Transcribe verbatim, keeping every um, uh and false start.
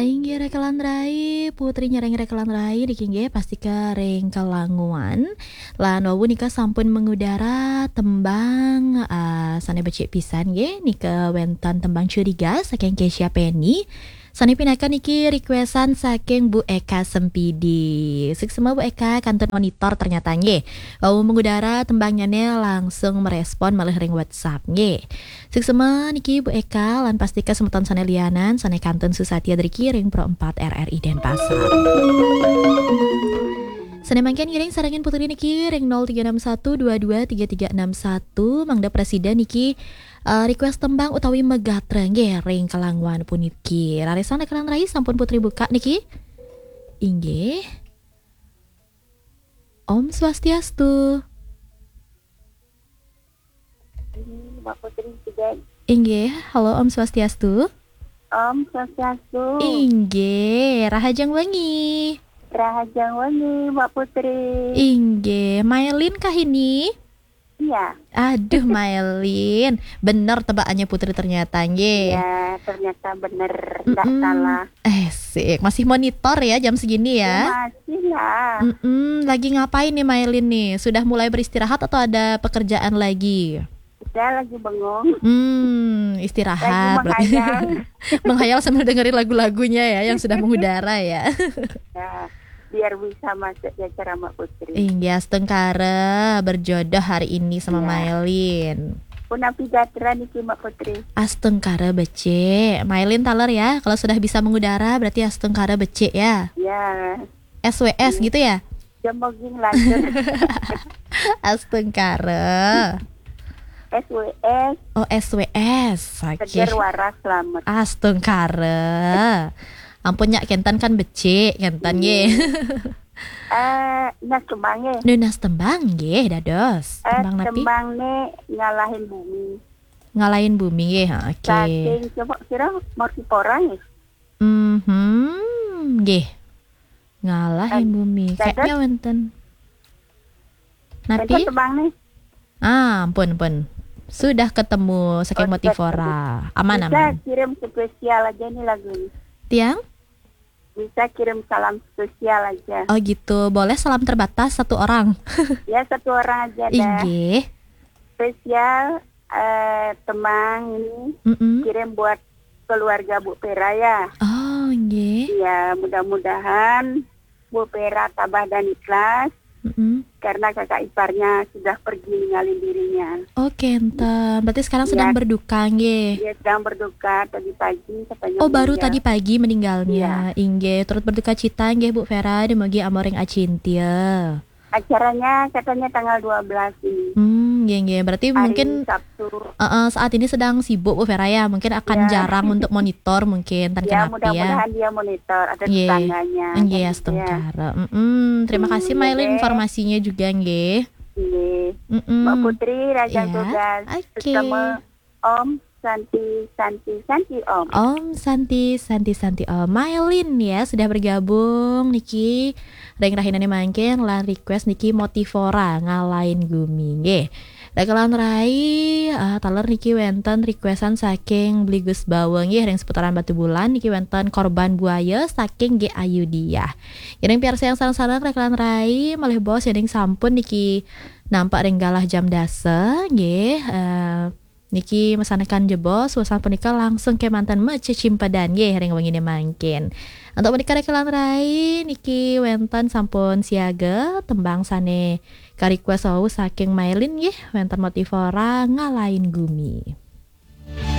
Inggih rekelan rai, Putri nyarengin rekelan rai niki inggih pastika ring Kelanguan. Lan wau nika sampun mengudara tembang, ah, sane becik pisan nggih, nika wenten tembang Curiga saking Kesia Penny. Sane pinaka niki requestan saking Bu Eka Sempidi. Suksma Bu Eka, kantun monitor ternyata nggih. Wau mengudara tembangnyane langsung merespon malih ring WhatsApp nggih. Suksma niki Bu Eka lan pastika semeton sane lianan sane kantun susatia driki ring Pro empat R R I Denpasar. Sane mangkin ngiring sarengin Putri niki ring nol tiga enam satu dua dua tiga tiga enam satu, mangda presiden niki, eh, request tembang utawi megatra nggih ring Kelanguan puniki. Rarisang rekelan rai sampun Putri buka niki. Inggih. Om Swastiastu. Ini Mbak Putri juga. Inggih, halo Om Swastiastu. Om Swastiastu. Inggih, rahajeng wengi. Rahajeng wengi, Mbak Putri. Inggih, Mailin kah ini? Iya. Aduh, Mailin. Bener tebakannya Putri ternyata, nggih. Iya, ternyata bener. Nggak Mm-mm. salah. Eh, sik. Masih monitor ya jam segini ya? Ya, masih lah. Mm-mm. Lagi ngapain nih, Mailin nih? Sudah mulai beristirahat atau ada pekerjaan lagi? Saya lagi bengong. Hmm, istirahat. Lagi menghayal. Menghayal sambil dengerin lagu-lagunya ya, yang sudah mengudara ya. Ya, biar bisa masuk di acara Mbak Putri. Inggih, astungkara berjodoh hari ini sama Iya. Mailin. Punapi gatra niki, Mbak Putri? Astungkara becik. Mailin taler ya, kalau sudah bisa mengudara berarti astungkara becik ya. Ya. S W S Iya. gitu ya? Jemoging lantur. Astungkara. S W S. Oh, S W S. Oke. Seger waras selamat. Astungkara. Ampun, nyak, kenten kan becik, kenten Iya. nggih. Eh, nas tembang nggih. Nunas tembang nggih, dados. Eh, Tembang napi? Tembang ne Ngalahin Bumi. Ngalahin Bumi nggih, ha, oke. Saking coba kira Mortipora nggih. Mhm, nggih. Ngalahin Eh, Bumi. dados? Kayaknya wenten. Napi? Wenten tembang nih. Ah, ampun, ampun. Sudah ketemu saking Oh, sudah Mortipora. Aman, Bisa aman. kirim spesial aja nih lagu ini. Tiang? Bisa kirim salam spesial aja. Oh gitu, boleh salam terbatas satu orang. Ya, satu orang aja dah. Inggih. Spesial, eh, tembang ini Mm-mm. kirim buat keluarga Bu Pera ya. Oh, inggih. Ya, mudah-mudahan Bu Pera tabah dan ikhlas Mm-mm. karena kakak iparnya sudah pergi ninggalin dirinya. Oke, enten. Berarti sekarang sedang Iya. berduka, nggih. Dia sedang berduka tadi pagi katanya Oh, baru meninggal. tadi pagi meninggalnya. Iya. Inggih, turut berduka cita nggih Bu Vera, dumugi amoring acintya. Acaranya katanya tanggal dua belas ini. Hmm, nggih, nggih. Berarti Hari mungkin Sabtu. Heeh, saat ini sedang sibuk Bu Vera ya. Mungkin akan Iya. jarang untuk monitor mungkin, tan Ya, kenapa ya. mudah-mudahan dia monitor, ada Nggih. tetangganya, Nggih, kan gitu ya. astungkara. Mm-mm. Terima Hmm, kasih Mailin nggih. informasinya juga nggih. Nggih. Mm-mm. Mbak Putri, Raja Ya. Tugas. Oke. Bersama Om Santi, Santi, Santi Om. Om Santi, Santi, Santi Om. Mailin ya sudah bergabung niki ring rahinane mangkin lan request niki Mortipora Ngalahin Gumi nggih. Rekelan rai, ah, taler niki wenten requestan saking Bligus Bawang nggih ring seputaran Batubulan niki wenten Korban Buaya saking G Ayudiah. Ngiring piarsayang sareng-sareng rekelan rai malih baos yen sampun niki nampak ring galah jam dasa nggih. Eh, Niki masanekan jebos, wusan punika langsung kemanten macecimpedan nggih ring wengine mangkin. Antuk punika rekelan rai niki wenten sampun siaga tembang sane ka-request wau saking Mailin nggih, wenten Mortipora Ngalahin Gumi.